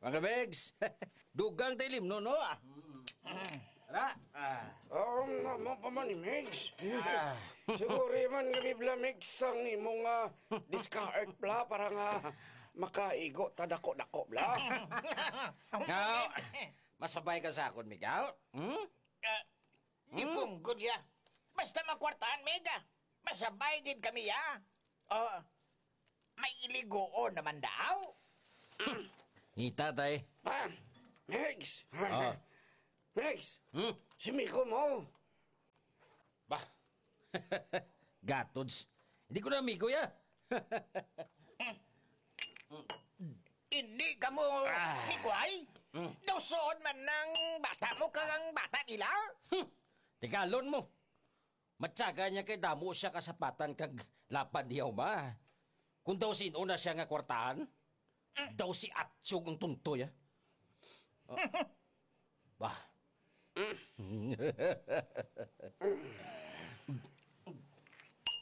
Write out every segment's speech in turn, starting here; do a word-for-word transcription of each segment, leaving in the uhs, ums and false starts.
Mga Megs, dugang ta ilimnon, no? Ah. Tara. Ah. Oo, nga mo pa man ni Megs. Ah. Siguro man nga bibla, Megs, ang imong, ah, discard, bla, para nga makaigo ta dako-dako, bla. Nga, masabay ka sa akon, Migaw? Hmm? Ah, Hmm? Ipunggol ya. Basta makwartahan, Mega. Masabay gid kami, ya. Oh, may iligoon naman daw. Ngita, tay. Ah, Megs. Ah. Megs. Hmm? Si Miko mo. Bah. Gatods. Hindi ko na amigo, ya. Hindi ka mo Ah. mikuhay? Hmm. Daw suod man ng bata mo kag ang bata nila? Hmm. Tigalon mo. Matyaga niya kay damo siya kasapatan kag lapad niya uma. Kung daw sino na siya nga kwartahan, daw si Atsog ang tuntoy, ah. Oh. Bah.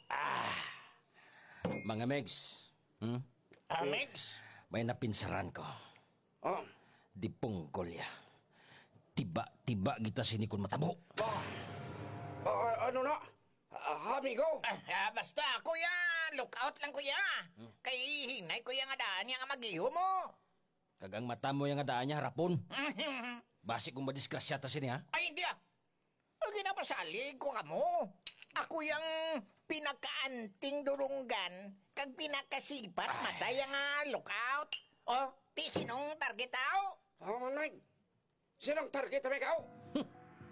Ah. Mga Megs. Hmm? Ah, Megs? May napinsaran ko. Oh. Di punggol ya. Tiba-tiba kita sini kun matabo. Ah. Ah, ano na? Ah, amigo? Ah, ah, basta, kuya. Look out lang, kuya. Hmm. Kay hinay, kuya, nga daan niya nga mag-iho mo. Kag ang mata mo yang daan niya harapon. Basi kung madisgrasya ta sini, ha? Ay, hindi, ah. Ang ginapasalig ko kamo. Ako yang pinakaanting durunggan kag pinakasipat Ah. matay ang, ah, lookout. Oh, ti sinong target tao? Oh, manay. Sinong target, amigo?